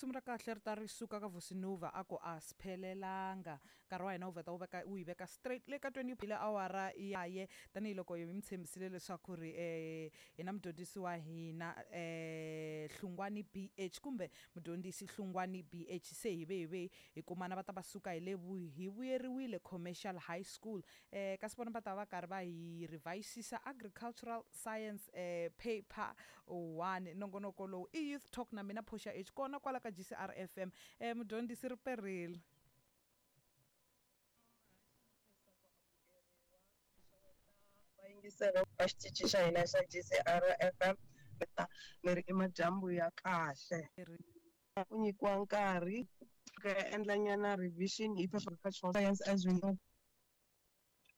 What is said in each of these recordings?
Risimu ra kahle ri ta ri suka ka Vusinuva a ku a swi phelelanga. Nkarhi wa hina wu vheta wu veka wu yi veka straight le ka 20 ile awara yaye tanihiloko hi mi tshembisile leswaku ri hi na mudyondzisi wa hina Hlungwani BH kumbe mudyondzisi Hlungwani BH se hi ve hi ve hi kumana va ta va suka hi le hi vuyeriwile Commercial High School. Kasi vona va ta va karhi va hi revisisa Agricultural Science paper 1. Nongonoko lowu i Youth Talk na mina Portia H kona kwala ka GCR FM. Mudyondzisi ri perile. Vayingiseri va xitichi xa hina xa GCR FM ni ri i madyambu ya kahle. U nyikiwa nkarhi ku ya endla nyana revision hi agricultural science as we know.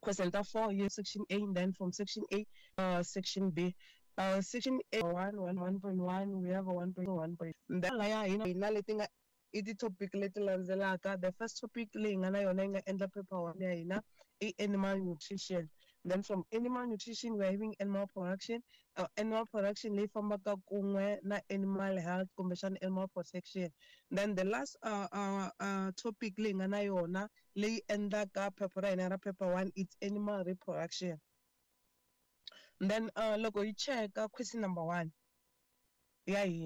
Question ta 4 here section A and then from section A section B. Section A 1 1 1.1 we have a 1.1 point. Then laya hina hina leti nga i ti-topic leti landzelaka. The first topic leyi nga na yona yi nga endla paper 1 ya hina i animal nutrition. Then from animal nutrition we are having animal production. Animal production leyi fambaka kun'we na animal health kumbexana animal protection. Then the last topic leyi nga na yona leyi endlaka phepha ra hina ra paper 1 it's animal reproduction. Then loko hi cheka question number 1 ya hina.